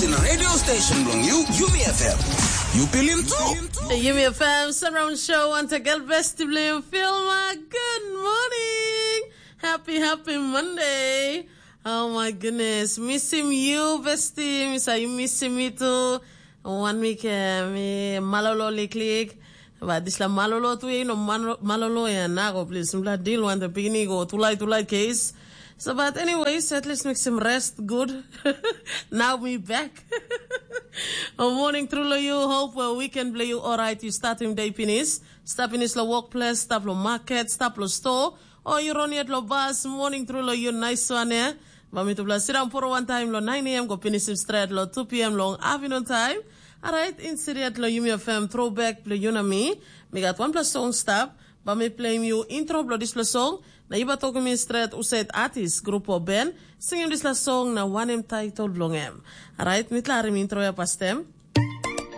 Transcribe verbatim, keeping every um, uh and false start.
In radio station bilong you, Yumi F M. You pilim tu. Yumi F M surround show want a girl best to blame film. Good morning. Happy, happy Monday. Oh my goodness. Miss him you, bestie. Miss you miss him me too. One week, uh, me malolo liklik. But this la malolo tu, you know, malolo ya nago, please. Mla deal one the beginning go tulai tulai case. So, but anyways, at least make some rest. Good. Now me back. A morning through lo you. Hope well weekend blo you. All right, you start him day pinis. Stap pinis lo workplace, stap lo market, stap lo store. O you run yet lo bus. Morning through lo you. Nice one, eh? Ba mi tupela sit down for one time lo nine a m go pinis him straight lo two p m long afternoon time. Alright, insert lo Yumi F M throwback blo you na mi. Mi gat one plus song stap. Ba mi playim yu intro bilong dispela song, na yu bai tokim mi stret husat artis, grup o ben, singim dispela song na wanem title bilong em. Orait, mi larim intro ya pastem.